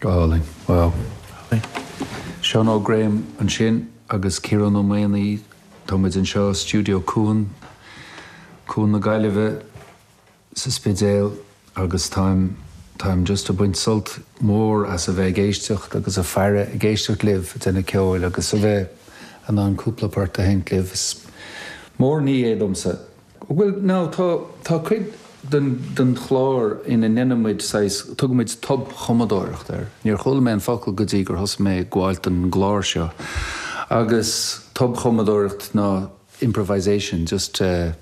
Go hálainn. Wow. Seán Óg Graham ansin agus Ciarán Ó Maonaigh. Tá muid anseo i Stiúideo Cuan, Cuan na Gaillimhe sa Spidéal agus táim, táim just ag baint sult mór as a bheith ag éisteacht agus ag faire, ag éisteacht libh ag déanamh ceoil agus a bheith in ann cúpla port a sheinnt libh. Is mór ní é domsa. Bhuel, now, tá, tá cuid den, den chlár ina ndéanann muid saghas, tugann muid tobchumadóireacht air. Níor chuala mé an focal go dtí gur thosaigh mé ag gabháilt don gclár seo. Agus tobchumadóireacht ná improvisation, just eh.